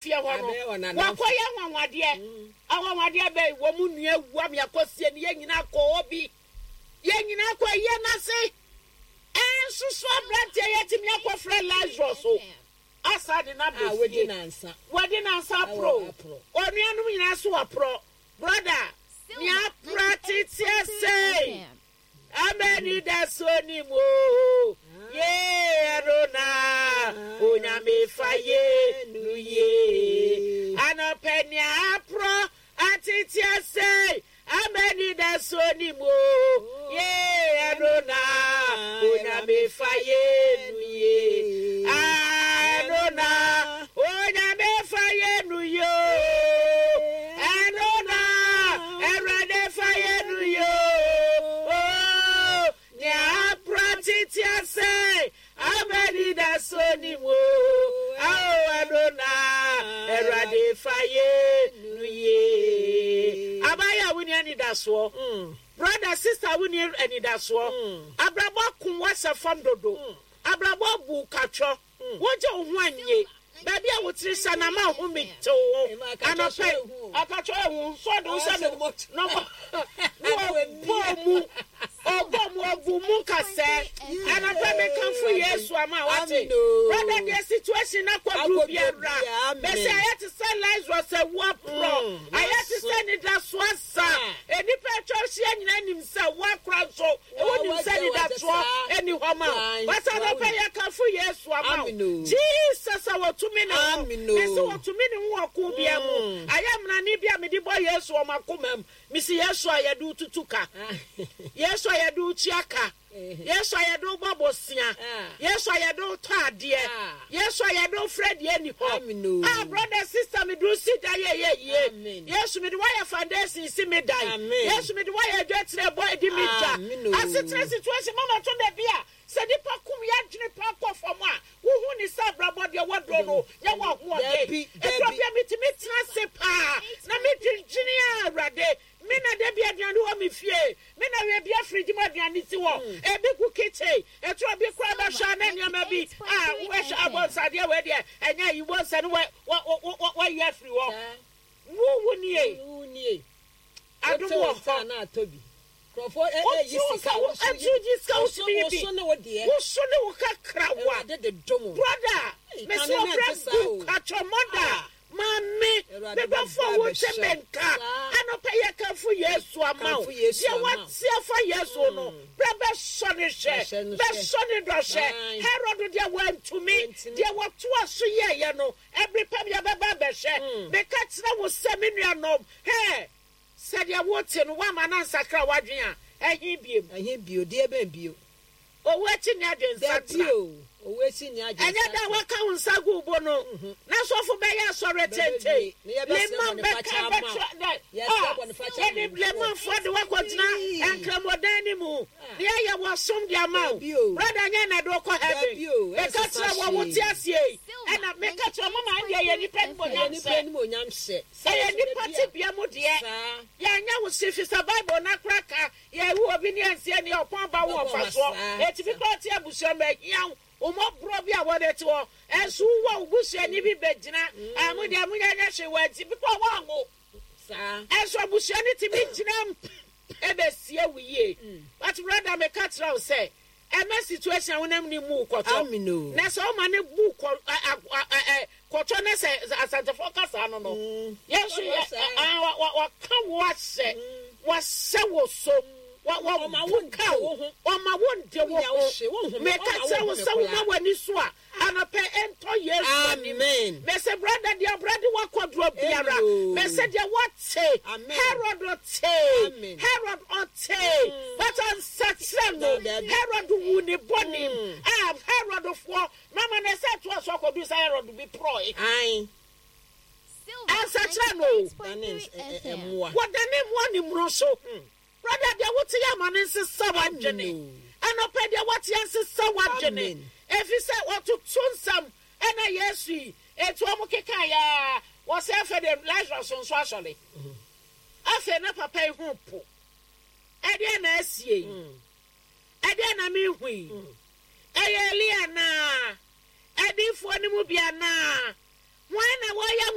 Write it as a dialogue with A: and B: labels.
A: Fie hɔ no, wɔakɔyɛ anwanwadeɛ. Anwanwadeɛ bɛn? Wɔn nua awu ama yɛakɔsie no, yɛn nyinaa kɔ hɔ bi. Yɛn nyinaa kɔ ayie no ase. Ɛnso so aberanteɛ yi atumi akɔfrɛ Lazarus o, asa de no aba fie. Wadi nansa aporɔ o. Onuanom nyinaa so wɔaporɔ. Brɔda, nea apra teteɛ sei. Am'anidasoɔ ni mu o, yee ɛno na Onyame fa ye no yie. Anɔpɛ nea aporɔ atete asɛe, Am'anidasoɔ ni mu o, yee ɛno na Onyame fa ye no yie. Ɛno na Onyame fa ye no yie o, ɛno na Awurade fa yɛ no yie o, nea apra tete asɛe ama anidasoɔ ni mu o, ao ɛno na Awurade fa yɛ no yie. Abaayewa a wonni anidasoɔ, brother, sister a wonni anidasoɔ, abrabɔ ako wo ahyɛ fam dodo, abrabɔ abu wo katwɔ. Wogye wo ho annye. Baabi a wo tiri hyɛ no ama wo home tew wo. Anɔpa yi, ɔka kyerɛ wo nso ɔde wo hyɛ no na ɔbɔ mu ɔbɔ mu ɔgu mu nkasɛɛ. Anɔpa mekamfo Yesu ama wate. Brother deɛ situation na kɔduru biara. Bɛsɛ ayɛ te sɛ Lazarus awu aporɔ. Ayɛ te sɛ anidasoɔ asa. Nnipa atwa ahyia nyinaa nim sɛ woakora nso Wonim sɛ anidasoɔ nni hɔ ma wo. But anɔpa yi yɛkamfo Yesu ama wo. Jesus a wɔtumi ne ho. Mese wɔtumi ne ho wɔ ko biara mu. Ayɛ mmarane bi a mede bɔ Yesu wɔ m'akoma mu. Mese Yesu a yɛde wo tutu ka. Yesu a yɛde wo tua ka. Yesu a yɛde wo bɔ bosea. Yesu a yɛde wo tɔ adeɛ. Yesu a yɛde wo frɛ deɛ nni hɔ. Ah brother sister mede wo si dan ɛyɛ yie. Yesu mede wo ayɛ foundation si me dan. Yesu mede wo ayɛ adwatire ɛbɔ ɛdi me dwa. Asetena situation mama ɛtɔ da bi a sɛ nipa kum yɛ adwene paa kɔ fam a wohu ne sɛ abrabɔ deɛ waduro no nyɛ w'ahoɔden. Ɛtɔ bi a metumi tena ase paa na medwendwene a Awurade Me na da bi aduane wɔ me fie. Me na wia bia fridge mu aduane si hɔ. Ebi gu kitchen. Ɛtɔ bi koraa bɛhwɛ a na nneɛma bi a wobɛhwɛ abɔnsadeɛ wei deɛ ɛnyɛ ayi bɔnsa no wayi afiri hɔ. Wo wo nie. Adom wɔ hɔ. Wotu sika wotumi yi bi. Woso ne wo kakrawa. Brother, mesi ɔbrɛ gu katwɔ mother. Maame, me dɔfo a wote me nka, anɔpa yi yɛkamfo Yesu ama wo. Deɛ woate afa Yesu no, bra bɛsɔ no hwɛ, bɛsɔ ne dɔ hwɛ. Herod deɛ wantumi, deɛ wɔtoa so yɛeɛ no, ɛbere pa bi yɛbɛba abɛhwɛ. Meka kyerɛ wo sɛ, me nuanom, hɛ, sɛ deɛ wote no, woamma no ansakra w'adwene a, ɛhe bio?
B: Ɛhe bio? Deɛ bɛn bio?
A: Owu akyi nni adwensakyera.
B: Dabi o, owu akyi nni adwensakyera.
A: Ɛnyɛ da a wɔaka wo nsa gu wo bo no na sɔfo bɛyɛ asɔre tenten. Leman bɛka bɛtra dɛ a yɛde Lemanfoɔ de wo akɔgyina Nkramodan no mu na yɛayɛ wɔ som de ama wo. Brɔda nyɛ na ɛde wo kɔ heaven. Meka kyerɛ wɔ wo te aseɛ yi ɛna meka kyerɛ mama ɛndeɛ yɛ nipa animuonyam hyɛ. Ɛyɛ nipa tebea mu deɛ. Yɛanyɛ wo hye fisɛ Bible no akora ka Yɛwu obi ne ɛnseɛ neɛ ɔpɔn ba wo ɔfasoɔ ɛtumi kora ɔte abusua mu ɛhia wo mmɔborɔ bi a wɔde te hɔ ɛnso wo wɔ wo busuani bi bɛgyina a mo deɛ mo nyɛ nyɛ hwee wɔ nti bikɔ wɔnwo ɛnso abusua no tumi gyina mu ɛbɛsie wo yie but brother meka kyerɛ wo sɛ Ɛmɛ situation a wonam ne mu kɔtɔ. Na sɛ ɔma ne bu kɔ kɔtɔ na sɛ Asantefoɔ kasa no no. Yɛn nso yɛ waka wo ahyɛ wahyɛ wo so wabuka wo ɔma wo nde wo ho. Meka kyerɛ wo sɛ woma w'ani so a Anɔpɛ ɛntɔ Yesu anim. Mese brother deɛ ɔbra de wakɔduro biara. Mese deɛ wɔte Herod ɔtee Herod ɔtee but ansakyerɛ no Herod wu ne bɔne mu. Ah Herod foɔ mama na ɛsɛ ɛtoa so akɔduru sɛ Herod bi porɔe. Ansakyerɛ no o. Wɔdane mmoa ne mmoro so. Brother deɛ wote yɛ ama no nsesa w'adwene. Anɔpa deɛ woate ansesa w'adwene. Ɛfiri sɛ wɔtoto nsɛm ɛna Yesu yi enti wɔn keka yɛ wɔsɛ afei deɛ Lazarus nso asɔre. Afei na papa yi ho po. Ɛdeɛ na asie yi. Ɛdeɛ na mehu yi. Ɛyɛ Elia anaa? Adiyifoɔ no mu bi anaa? Hwan na wɔyɛ.